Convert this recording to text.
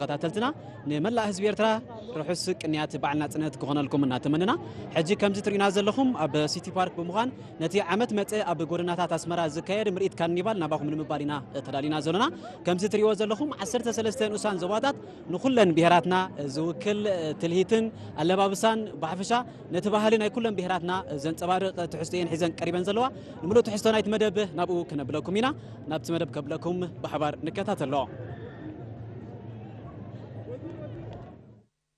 ተኸታተልትና፣ ንመላእ ህዝቢ ኤርትራ ርሑስ ቅንያት በዓል ናጽነት ክኾነልኩም እናተመነና፣ ሕጂ ከምዚ ትርእዩና ዘለኹም ኣብ ሲቲ ፓርክ ብምዃን ነቲ ዓመት መጸ ኣብ ጎደናታት ኣስመራ ዝካየድ ምርኢት ካርኒቫል ናባኹም ንምባል ኢና ተዳሊና ዘለና። ከምዚ ትርእይዎ ዘለኹም ዓሰርተ ሰለስተ ንኡሳን ዞባታት ንኹለን ብሄራትና ዝውክል ትልሂትን ኣለባብሳን ብሓፈሻ ነቲ ባህሊ ናይ ኩለን ብሄራትና ዘንጸባርቕ ትሕዝቶ እየን ሒዘን ቀሪበን ዘለዋ። ንምሉእ ትሕዝቶ ናይቲ መደብ ናብኡ ክነብለኩም ኢና። ናብቲ መደብ ከብለኩም ብሓባር ንከታተሎ።